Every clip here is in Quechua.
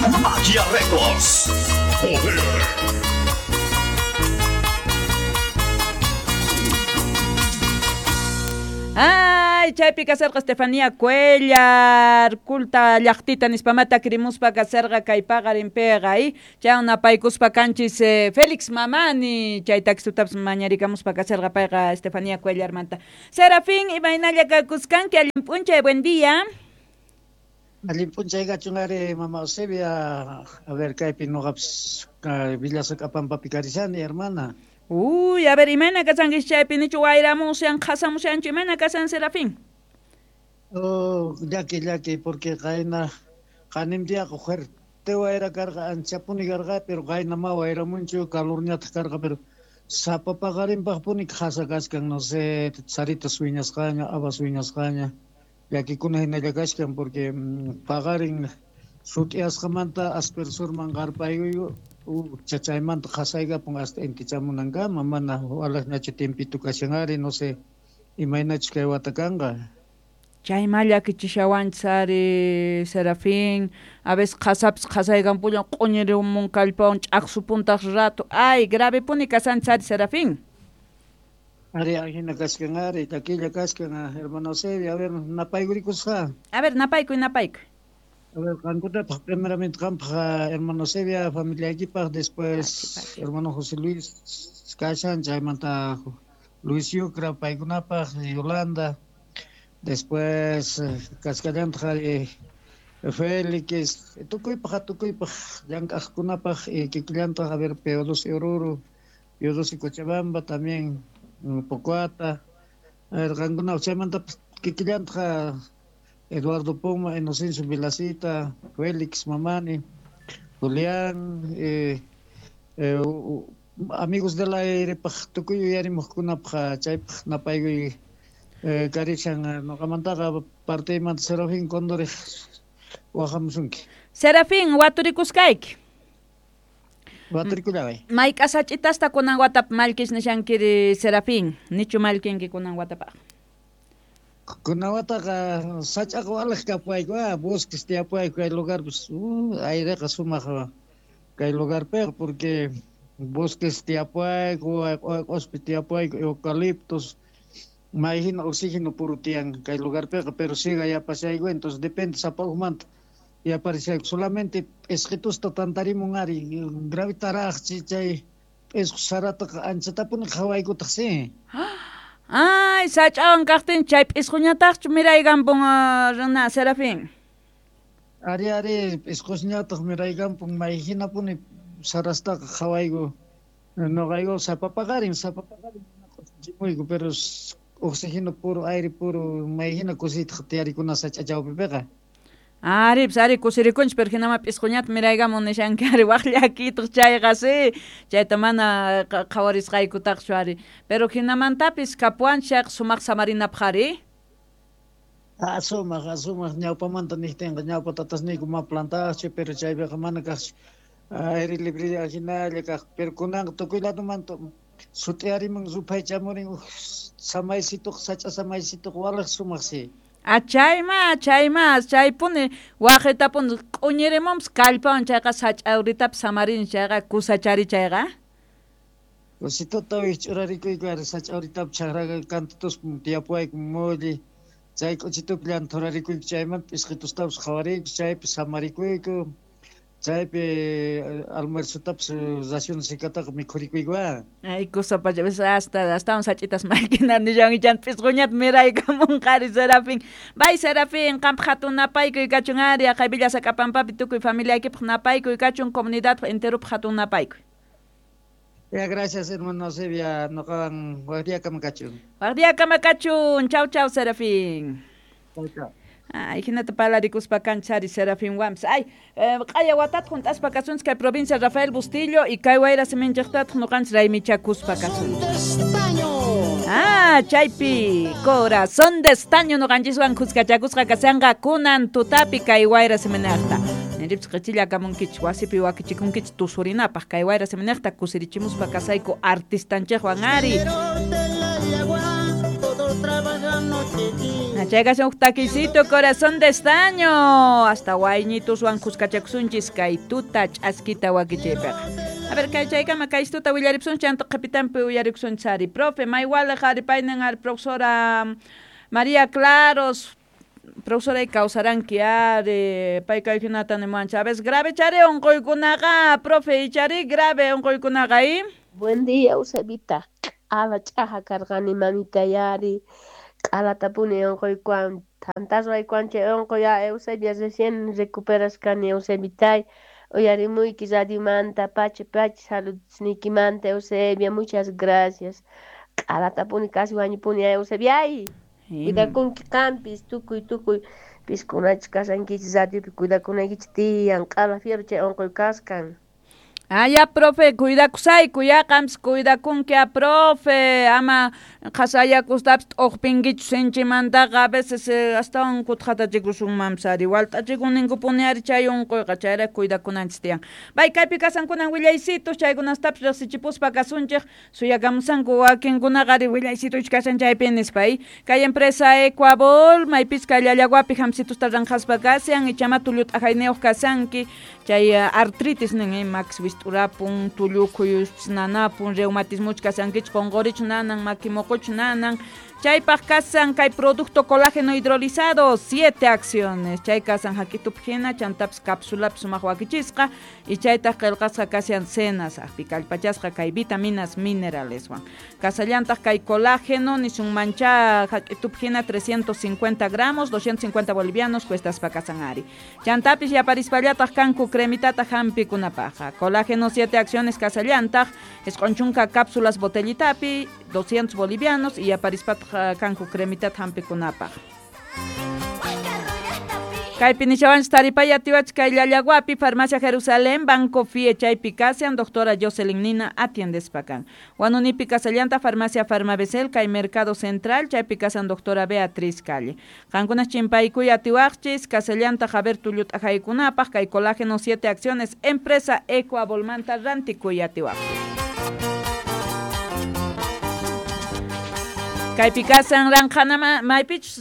Magia Records. Poder. Ay, chaypi kasarqa Estefanía Cuellar, kulta llaqtita nispamata kirimuspa kasarqa kay paqarinpiqa, y chay napaykuspa kanchis Félix Mamani, chay taxitutapas mañarikamuspa kasarqa payqa Estefanía Cuellarmanta. Serafín, imaynalla kakuskanki, allin p'unchay, buen día. Allin p'unchay kachun ari, mama Eusebia, a ver, kaypi nuqapis Villasac'apampapi karishani, hermana. Uy, a ver, imayna kasankish chaypi, nichu wayramushan, qhasamushanchu, imayna kasan, Serafín? Oh, llaki, llaki, porque qayna qanim diaqa fuerte wayra karqa, anchapuni karqa, pero qayna ma wayramunchu, calorñataq karqa, pero sapa paqarinpaqpuni qhasa kachkan, no sé, sarita sueñasqaña, habas sueñasqaña, llakikuna hinalla kachkan, porque paqarin sut'iyasqamanta aspersurman qarpaykuyku, chachaymanta qhasaykapun hasta intichamunankama, mana walaqñachu tiempito kashan ari, no sé, imaynachus kay wata kanqa. Chayma llakichishawanchis ari, Serafín, a veces qhasapis qhasaykanpullan q'uñirimun kallpawan ch'aqsupuntaq rato, ay, gravepuni kasanchis ari, Serafín. Ari, ajina kachkan ari, llakilla kachkan, hermano Eusebio, a ver, napaykurikusqa. A ver, napaykuy, napaykuy. A ver, qankunapaq, primeramente qampaq, hermano Eusebia, familiaykipaq, después hermano José Luis kashan, chaymanta Luis Yucra, paykunapaq, Yolanda, después kachkallantaq ari Félix, tukuypaq, tukuypaq, llank'aqkunapaq, kikillantaq, a ver, P2 Oruro, P2 Cochabamba, también Pocoata, a ver, qankunapaq, chaymanta kikillantaq Eduardo Poma, Inocencio Vilacita, Félix Mamani, Julián, amigos del aire, paj tukuy uyarimuqkunapaq, chaypaq napaykuy karishan, nuqamantaqa parteymanta Serafín Condoriq waqamusunki. Serafín, waturikusqayki. Waturikullaway. Mayk'a sach'itasta kunan watap mallkish nishankiri, Serafín, nichu mallkinki kunan watapaq? Kunan wataqa sach'aqa walaq kapuwayku, bosques tiyapuwayku kay lugarpis, aireqa sumaq kay lugarpiqa, porque bosques tiyapuwayku, q'ospi tiyapuwayku, eucaliptos, may hina oxígeno puro tiyan kay lugarpiqa, pero siga yapashayku, entonces depende sapa ujmanta yaparishayku, solamente p'isqitusta tantarimun ari, gravitaraq chay p'isqu sarataqa anchatapuni qhawaykutaq, sí. Ay, sach'awan kaqtin chay p'isquñataqchu miraykanpun, runa Serafín? Ari, ari, p'isqusñataq miraykanpun, may hinapuni sarastaqa qhawayku, nuqayku sapa paqarin q'usichimuyku, pero oxígeno puro, aire puro, may hina kusiytaq tiyarikuna sach'a chawpipiqa. Ari, pues ari kusirikunchis, pero hinama p'isquñata miraykamun nishanki ari, waq llakiytaq chayqa, sí, chayta mana qhawarisqaykutaqchu ari, pero hinamantapis kapuwanchis chayqa sumaq samarinapaq ari. Sumaq, sumaq, ñawpamanta niqtinqa ñawpa tatasniyku ma plantaqchu, pero chaypiqa mana kaqchu aire libre hinalla kaq, pero kunanqa tukuy ladomanta sut'iyarimun ruphay chamurin, samaysituq, sach'a samaysituq, walaq sumaq, sí. Chayma, chayma, chaypuni waqitapuni q'uñirimunpis kallpawan chayqa sach'a uritapis samarin chayqa kusachari chayqa. Kusituta wikch'urarikuyku ari sach'a uritapis chaqraqa kantutuspa tiyapuwayku mulli, chay k'uchitupi llanthurarikuyku, chaymanta p'isqitustapis qhawariyku, chaypi samarikuyku, chaypi almuerzotapis ración secataqa mikhurikuyku. Ay, kusapacha, hasta astawan sach'itas mallkina nishan ichan p'isquñata miraykamunqa ari, Serafín. Bay, Serafín, qampaq hatun napaykuy kachun ari, aqay Villasac'apampapi tukuy familiaykipaq napaykuy kachun, comunidadpaq enteropaq hatun napaykuy. Ya, gracias, hermano Eusebia, nuqawan waqdiakama kachun. Waqdiakama kachun, chau, chau, Serafín. Chau, chau. Ay, hinata palarikuspa kanchari Serafín Wams. Ay, q'aya watat junt'aspa kasunchis kay provincia Rafael Bustillo y kay wayra siminchiqtataq nuqanchis raymichakuspa kasunchis. Ah, chaypi corazón de estaño nuqanchiswan khuskachakusqa kasanqa kunan tutapi kay wayra siminaqta. Niripis qhichilla kamunkichis, wasipi wakichikunkichis tusurinapaq kay wayra siminaqta kusirichimuspa kasayku artistanchikwan ari. Chay kashan huk takisito corazón de estaño hasta wayñituswan kuskachakusunchis kay tuta ch'askita wakichaypiqa. A ver, kay chaykama kay tuta willaripsun chanta qhipitanpi uyarikusunchis ari. Profe, maywalaq ari paynin ari profesora María Claros, profesora kawsaranki ari, pay kay hinata nimuwanchik. A veces grave chari unquykunaqa, profe, ichari grave unquykunaqa, ¿eh? Buen día, Eusebita. Q'ala ch'aja karqani mamita yari. Q'alatapuni unquykuwan. Tantaswaykuwan chay unquy Eusebia recién recuperasqani Eusebitay. Uyarimuyki radiomanta pacha pacha saludniykimanta Eusebia, muchas gracias. Q'alatapuni casi wañupuni Eusebia. Ay, cuidakunki qampis tukuy tukuy piskunachis kashankichis radiopi cuidakunaykichis tiyan q'ala fiero chay unquy kaskan. Ah, ya, profe, cuidakusayku, ya, qampas cuidakunki, a profe, ama qhasayakustapas t'uqpinkichu sinchimantaqa, a veces astawan kutqatachikusunmanpas ari, walt'achikuninkupuni ari chay unquyqa, chayrayku cuidakunanchis tiyan. Bay, kaypi kasankunan willaysitos, chaykunastapis riqsichipuspa kasunchik, suyakamusanku wakinkunaqa ari willaysitos kashan chaypi nispa, kay empresa Ecuabol, maypis kay Llallaguapi hamsitusta ranqhaspa kashan, ichama tullu t'ajayniyuq kasanki, chay artritis nin, max wisturapun, tullukhuyuspis nanapun, reumatismuch kasankichik, qunqurich nanan, makimuquch nanan, chaypaq kasan kay producto colágeno hidrolizado, 7 acciones, chay kasan hak'itupi hina, chantapis cápsulapi sumaq wakichisqa, y chaytaq qillqasqa kashan cenas, aqpi kallpachasqa kay vitaminas mineraleswan. Kasallantaq kay colágeno, nisunmancha hak'itupi hina 350 gramos, 250 bolivianos, cuestaspa kasan ari. Chantapis yaparispallataq kanku cremitata hampikunapaqqa. Colágeno 7 acciones kasallantaq, isq'unchunka cápsulas botellitapi, 200 bolivianos, y yaparispataq kanku cremitata hampikunapaq. Kaypi nishawanchis taripaya atiwachis kay Llallaguapi, Farmacia Jerusalén, Banco FIE chaypi kashan, doctora Jocelyn Nina atiendespa kan. Huanunipi kasallanta Farmacia Farmabesel, kay Mercado Central, chaypi kasan doctora Beatriz Calle. Qankunas chimpaykuy atiwaqchis, kasallanta Javier Tullut'ajaykunapaq, kay colágeno 7 acciones, empresa Ecuabolmanta rantikuy atiwaqchis. Kaypi kasan ranqhanama maypichus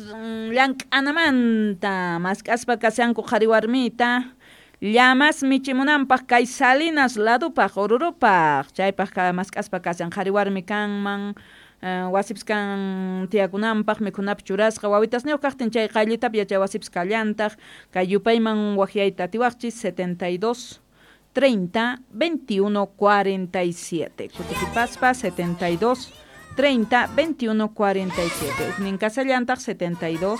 llank'anamanta mask'aspa kashanku qhari warmita llamas michimunanpaq kay Salinas ladupaq Orurupaq chaypaq mask'aspa kashan qhari warmi kanman wasipis kan tiyakunanpaq mikhunapi churasqa wawitasniyuq kaqtin chay qayllitapi yachay wasipis kallantaq kay yupayman waqyayta atiwaqchis 72 30 21 47 kutikipaspa 72 30 21 47. Uknin kasallantaq 72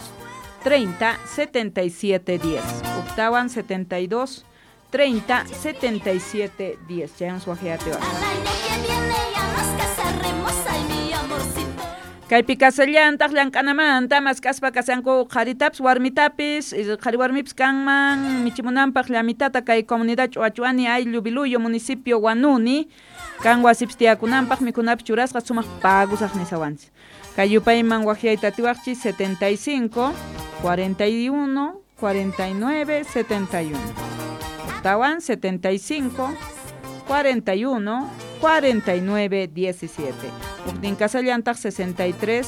30 77 10. Uktawan 72 30 77 10. Chayan suajeate. Kaypi kasallantaq llank'anamanta mask'aspa kashanku qharitapis warmitapis, qhari warmipis kanman michimunanpaq llamitata kay comunidad Ch'uachuani ayllu Biluyo municipio Huanuni kan wasipis tiyakunanpaq mikhunapis churasqa sumaq pagusaq nisawanchis. Kay yupayman waqyayta atiwaqchis 75 41 49 71. Octawan 75 41 49 17. Uknin kasallantaq 63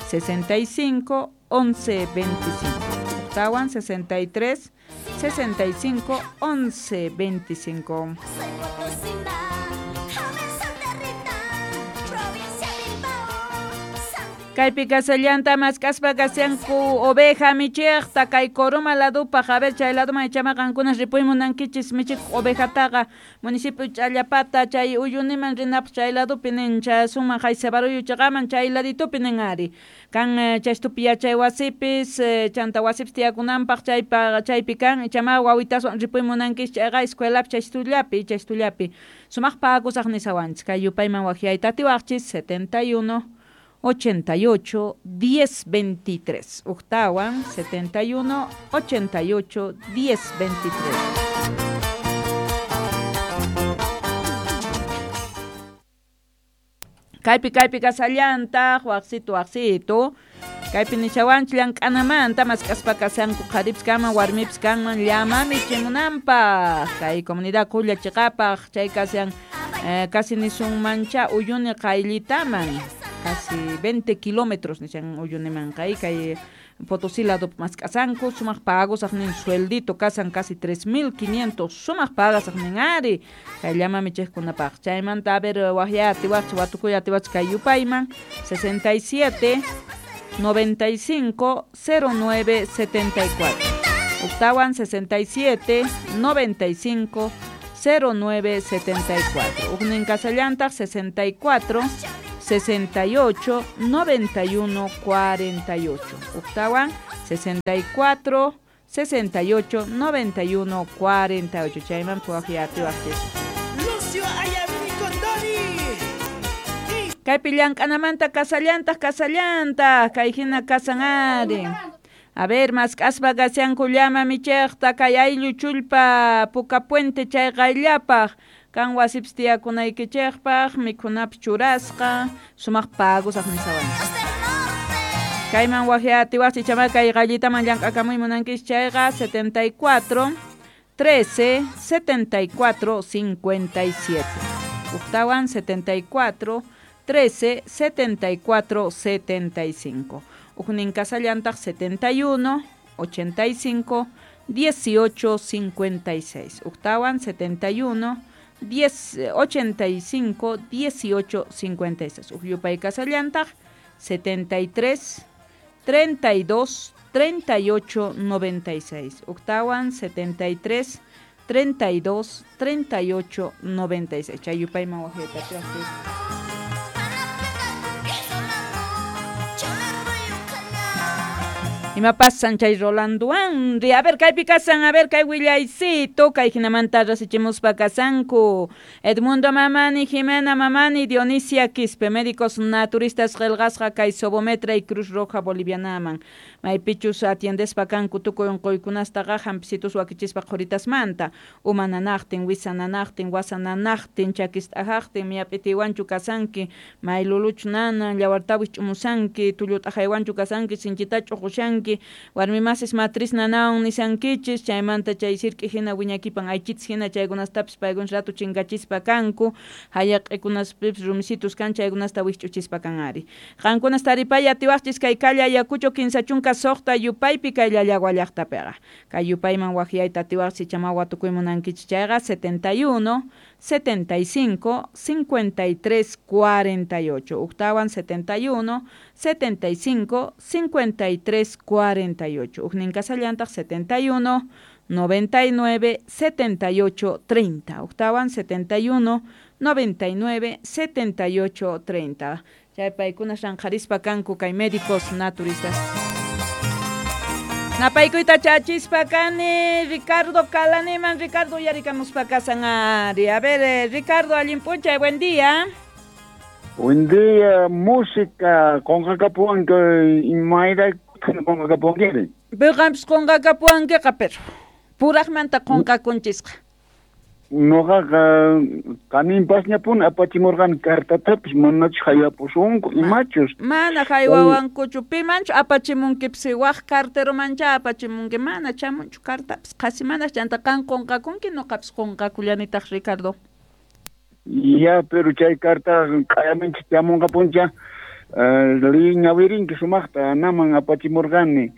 65 11 25. Octawan 63 65 11 25. Kaypi kasallanta mask'aspa kashanku oveja michiqta kay Coroma ladupaq, a ver chay laduman ichama qankunas ripuy munankichis michikuq ovejataqa municipio Ch'allapata chay Uyuniman rinapaq chay ladupi nin chayasunman Haysebaruyu chaqaman chay laditupi nin ari kan chaystupi yachay wasipis chanta wasipis tiyakunanpaq chaypi kan ichama wawitaswan ripuy munankichis chayqa escuelapi chaystullapi sumaq pagusaq nisawanchis kay yupayman waqyayta atiwaqchis 71 88 10 23. Octawan 71 88 10 23. Kaypi kaypi kasallantaq waqsitu waqsitu. Kaypi nishawanchik llank'anamanta mask'aspa kashanku qharipis kanman warmipis kanman llama michimunanpaq kay comunidad Qulla chiqapaq chay kashan casi nisunmancha Uyuni qayllitaman casi 20 kilómetros nishan Uyuniman kay kay Potosí lado mask'asanku sumaq pagosaqnin sueldito kasan casi 3.500 sumaq pagasaqnin ari kay llama michiqkunapaq chaymanta a ver waqya atiwaqchik watukuy atiwaqchik kay yupayman 67 95 09 74 Octawan 67 95 09 74 Ujnin kasallantaq 64 68 91 48 Octawan 64 68 91 48 Chayman puwaqya atiwaqchis. Lucio Ayavini Condori. Kaypi llank'anamanta kasallantaq kasallantaq kay hina kasan ari. A ver, mask'aspa kashanku llama michiqta kay ayllu chullpa Puka Puente chay qayllapaq kan wasipis tiyakunaykichikpaq mikhunapis churasqa sumaq pagusaq nisawan. Kayman waqya atiwaqchik chama kay qayllitaman llank'akamuy munankichik chayqa 74 13 74 57 Ujtawan 74 13 74 75 Ujnin kasallantaq 71 85 18 56 Ujtawan 71 10 85 18 56 Ujyupay kasallantaq 73 32 38 96 Octawan 73 32 38 96 Chay yupayman waqyayta atiwaqchis. Ima pasan chay Rolando Andri? A ver, kaypi kasan, a ver, kay willaycito, kay hinamanta rasichimuspa kasanku. Edmundo Mamani, Jimena Mamani, Dionisia Quispe, médicos naturistas qillqasqa kay Sobometra y Cruz Roja Bolivianaman. Maypichus atiendespa kanku tukuy unquykunastaqa hampisitus wakichispa qhuritasmanta. Uma nanaqtin, wisa nanaqtin, wasa nanaqtin, chakist'ajaqtin, miyap'itiwanchu kasanki, mayluluchu nanan, llawartawis ch'umusanki, tullut'aqaywanchu kasanki, sinchita ch'uqushanki, warmi masis matriz nanawan nisankichis, chaymanta chay sirk'i hina wiñakipan aychitis hina chaykunastapis paykunas rato chinkachispa kanku, hayaq'ikunaspipis rumisitus kan chaykunasta wikch'uchispa kan ari. Qankunas taripay atiwaqchis kay calle Ayacucho 56 yupaypi kay Llallagua llaqtapiqa. Kay yupayman waqyayta atiwaqchis chama watukuy munankichis chayqa 71 75 53 48 Octawan 71 75 53 48 Ujnin kasallantaq 71 99 78 30 Octawan 71 99 78 30 Chay paykunas ranqharispa kanku kay médicos naturistas. Napaykuyta chachispa kani Ricardo Kalaniman. Ricardo yarikamuspa kasan ari. A ver, Ricardo, allin p'unchay, buen día. Buen día, música qunqakapuwanki imayra qunqakapuwankiri. Piqanpis qunqakapuwankiqa, pero puraqmanta qunqakunchisqa. Noqaqa qaninpasñapuni apachimurqani cartatapis manachu haywapusunku imachus. Mana haywawankuchu, pimanchu apachimunkipis waq carteromancha apachimunki, mana chamunchu cartapis qhasi mana chanta qan qunqakunki noqapis qunqakullanitaq Ricardo. Ya, pero chay carta q'ayaminchik chamunqapuncha liñawirinki sumaqta naman apachimurqani.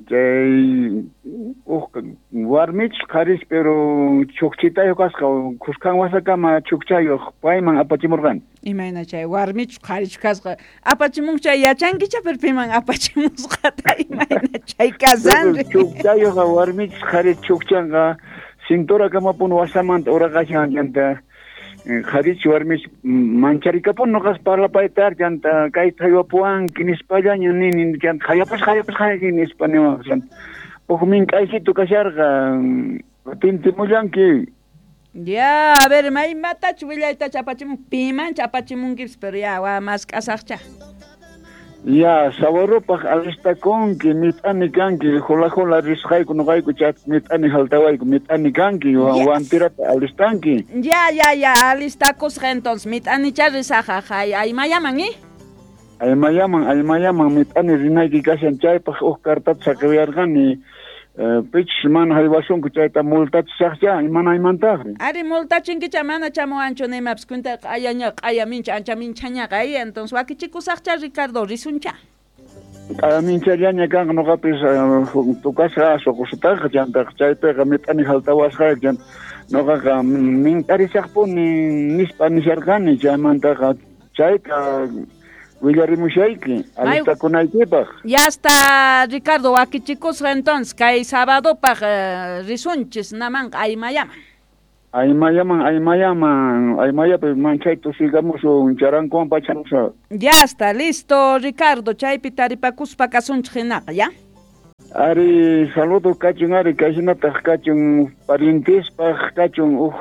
Chay uj warmichus qharis pero chukchitayuq kasqa khuskan wasakama chukchayuq payman apachimurqani. Imayna chay warmichus qharichu kasqa apachimunki chay yachankicha pero piman apachimusqata imayna chay kasanri. Chukchayuqqa warmichus qharis chukchanqa cintura kamapun wasamanta uraqashan chanta qharichu warmichu mancharikapun noqas parlapaytar chanta kayta haywapuwanki nispallaña nini chanta hayapasqa hayapasqa nispa niwaq chanta uj mink'aysitu kasharqa tintimullanki. Ya, a ver, maymatachu willaytachu apachimun pimanchu apachimunkipis pero ya wa mask'asaqcha. Ya, sawarupaq alistakunki, mit'ani kanki, jula jula risqayku noqayku chay mit'ani haltawayku, mit'ani kanki, wantirata alistanki. Ya, ya, ya, alistakusqa entonces, mit'anicha risaqa, aymayaman, ¿eh? Aymayaman, aymayaman, mit'ani rinayki kashan chaypaq uj cartata saqiyarqani, pichus mana haywasunku chayta multachisaqcha, imana aymantaqri. Ari multachinkicha mana chamuwanchu nimapis cuenta q'ayaña q'ayamincha ancha minchañaqa, entonces wakichikusaqcha Ricardo risuncha. Minchallaña kanqa noqapis tukasqa suqusutaqa chantaqa chaypiqa mit'ani haltawasqa chanta noqaqa mintarisaqpuni nispa nisharqani chaymantaqa chayta willarimushayki alistakunaykipaq. Ya está Ricardo wakichikusqa entonces kay sabadopaq risunchis namanqa Aymayaman. Aymayaman, Aymayapi manchay tusigamusun, charankuwan pachamusa. Ya está, listo, Ricardo, chaypi taripakuspa kasunchik hinaqa, ya? Ari, saludo kachun, ari, kayhinataq kachun, parientespaq kachun,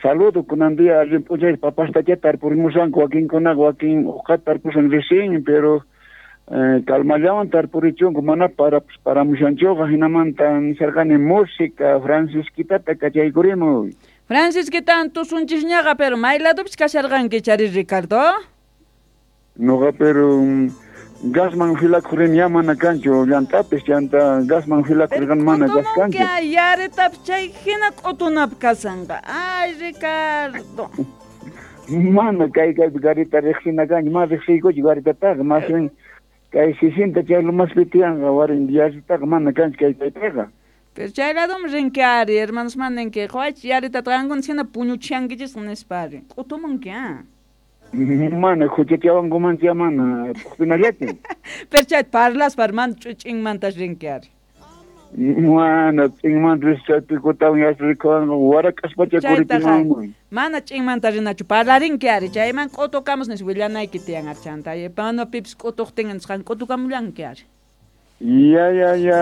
saludo kunan día allin p'unchay papastacha tarpurimusanku wakinkunaqa wakin uqata tarpusan recién, pero calmallawan tarpurichunku mana paramushanchuqa hinamanta nisharqani música Francisquitata kachaykurimuy. Francisquitan tusunchisñaqa, pero may ladupis kasharqanki chari Ricardo? Noqa pero gasman filakurin ya mana kanchu llantapis chanta gasman filakurirqan mana gas kanchu. Yaritapis chay hina q'utunap kasanqa. Ay Ricardo. Mana kay kaypi garita riqsina kanchu, mana riqsiykuchu garitataqa, más bien kay sisinta chay lumaspi tiyanqa warin yaritaqa mana kanchu kay kaypiqa. Pero chay ladum rinki ari, hermanos maninki, qhawaychis yaritata qankuna hina puñuchishankichisqa nispa ari. Q'utumunki, ah. Mana huchachawankumancha mana tuqpinallachu. Pero chay parlaspa hermano ch'inmantas rinki ari. Mana ch'inmanta chaypikutawan yasrikuwanqa warak'aspacha kurichimanman. Mana ch'inmanta rinachu parlarinki ari, chayman q'utukamus nis willanayki tiyan ari chanta. Mana pipis q'utuqtin nisqan q'utukamullanki ari. Ya, ya, ya,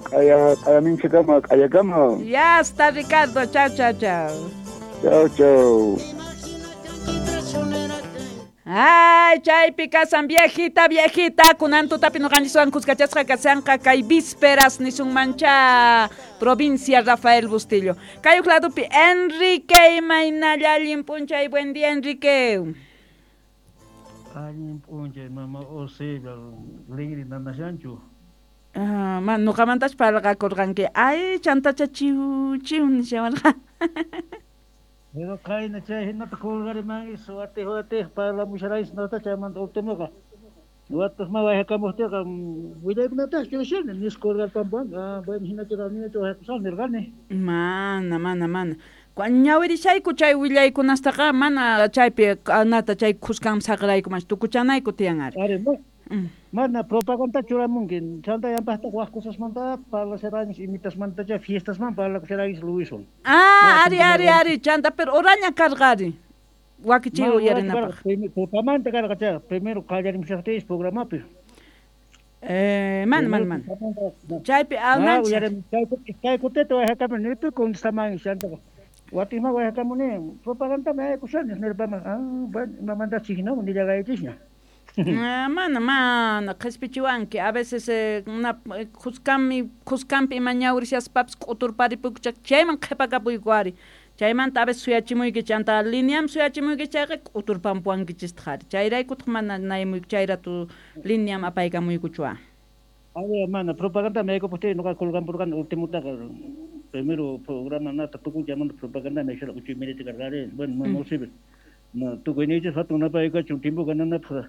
k'aya minchakama, k'ayakama. Ya está Ricardo, chao, chao, chao. Chao, chao. Ay, chaypi kasan viejita, viejita, kunan tutapi noqanchiswan kuskachasqa kasanqa kay vísperas nisunmancha provincia Rafael Bustillo. Kay uq ladupi Enrique imaynalla allin p'unchay, buen día Enrique. Allin p'unchay mama Eusebia, lingri nanashanchu. Ah, man noqamantachu parqakurqanki. Ay, chantacha chiw chiw nishawarqa. Pero kayna chay hinata kulgariman watih watih parlamusharais nota chaymanta ultimoqa. Watih ma wayhakamuqtiqa willaykunataqa churashani nis kulgarpampuwan. Ah, bueno hinachu ninachu wayhakusaq nirqani. Mana, mana, mana. Ñawirishayku chay willaykunastaqa mana chaypi nata chay khuskan saqraykumanchu tukuchanayku tiyan ari. Ari, mana propaganda churamunki chanta yanpaqtaq waq cosasmanta parlasharaychis imitasmantacha fiestasman parlakusharaychis Luiswan. Ah, ari, ari, ari, chanta pero oraña karqa ari. Wakichiy uyarinapaq. Tutamanta karqa chayqa, primero qallarimushaqtiyis programapi. Mana, mana, mana. Chaypi ananchis. Chay kutita wayhakamuni nirpi contestaman chantaqa. Watinma wayhakamuni propagandami aykushani nirpama. Ah, bueno, imamantachi hinawan nillagaychisña. Mana, mana, qhispichiwanki. A veces khuskanpi ima ñawrishaspapas k'uturparipuyku chayman qhipakapuyku ari. Chaymanta a veces suyachimuyki chanta lineam suyachimuyki chayqa k'uturpampuwankichistaq ari. Chayraykutaq mana naymuyku chayratu lineam apaykamuykuchu a. Ari, mana, propaganda aykupuptiy noqa kulgampurqani ultimutaqa. Primero programa nata tukun chaymanta propaganda aysharqa uchuy milita karqa ari. Bueno, mama Eusebia. Tukuyniychis hatun napaykachu timpuqa nanapaq.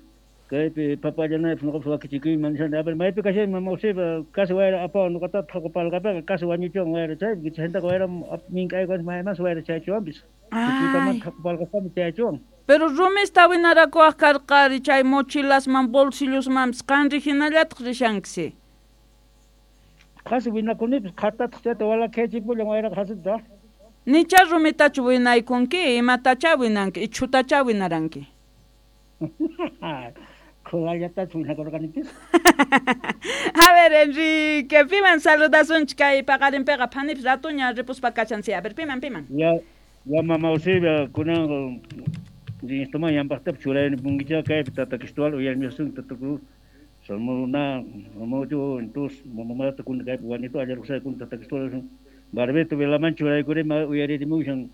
Kaypi papallanaypaq noqapas wakichikuyman nishani. A ver, maypi kashani mama Eusebia casi wayra apawan noqatataq qhaqupalqapiqa casi wañuchiwan wayra chaypi chaytaqa wayra mink'aykuwanchis maymansi wayra chaychiwanpis. Tukuymanta qhaqupalqaspami chayachiwan. Pero rumista winarakuwaq karqari chay mochilasman bolsillosmanpis qanri hinallataq rishankisi. Qasi winakunipis qhatataq chayta walakhayachimpullan wayraqa hasita. Nicha rumitachu winaykunki imatacha winanki ichhutacha winaranki. Khulallatachu winakurqanipis. A ver, Enrique, piman saludasunchik kay paqarinpiqa phanipis ratuña ripuspa kachansi. A ver, piman, piman. Ya, ya mama Eusebia kunanqa instruman yanpaqtapas churaynipunkicha kaypi tata Cristóbal uyarimisun tata Cruz. Salmona, mojo, entonces, mamá kun kaypi wanito allarqusay kun tata Cristóbal. Barbeto velaman churaykurima uyaririmushan.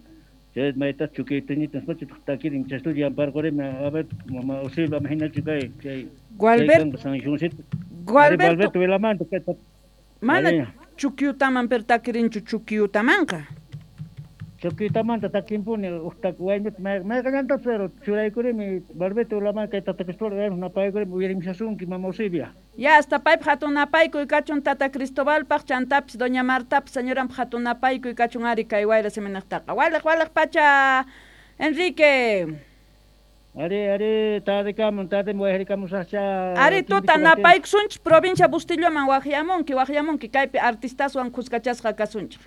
Chay mayta chukaytañitas pacha takirin chastulla yamparqurima. A ver, mama Eusebia imaginachu kay chay. Gualberto San Juancito. Gualberto Velamanta mana chukyutaman pero takirinchu chukyutamanqa. Tukuytamanta takimpuni uqtak waynut mayqallanta pero churaykurimi barbeto ulaman kay Tata Cristóbal napaykurimi uyarimshasunki mama Eusebia. Ya hasta paypaq hatun napaykuy kachun Tata Cristobalpaq chantapis doña Martapis señoranpaq hatun napaykuy kachun ari kay wayra siminaqtaqa. Waliq waliq pacha Enrique. Ari ari tardekamun tarde wayharikamusaqcha. Ari tuta napaykusunchik provincia Bustilloman waqyamunki waqyamunki kaypi artistaswan kuskachasqa kasunchik.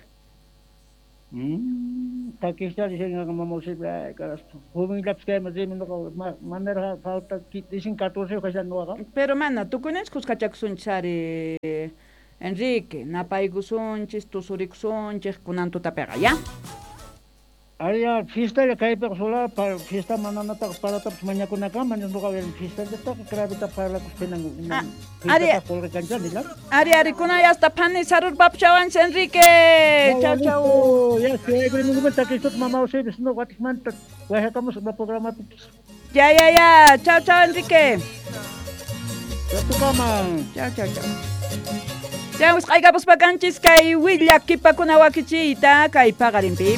Takischa dicen mama Eusebia caraspa. Jovenllapis kayman rimi nuqa manaraq falta dicen 14 kashan nuqaqa. Pero mana tukuyninchik kuskachakusunchik ari Enrique, napaykusunchik, tusurikusunchik kunan tutapiqa, ya? Ari ya fiestalla kaypiqa sola fiesta mananataqa paratapis mañakunakama nuqa fiestallataqa gravita parlakuspinan ari qulqi. Ari ari kunan hasta phani sarurpapchawanchik Enrique. Chau chau. Ya chaykurimanta Cristo mama Eusebia no watikmanta wayhakamusaq programapipis. Ya ya ya, chau chau Enrique. Chatukama. Chau chau chau. Ya wisq'aykapuspa kanchis kay willakipakuna wakichiyta kay paqarinpi.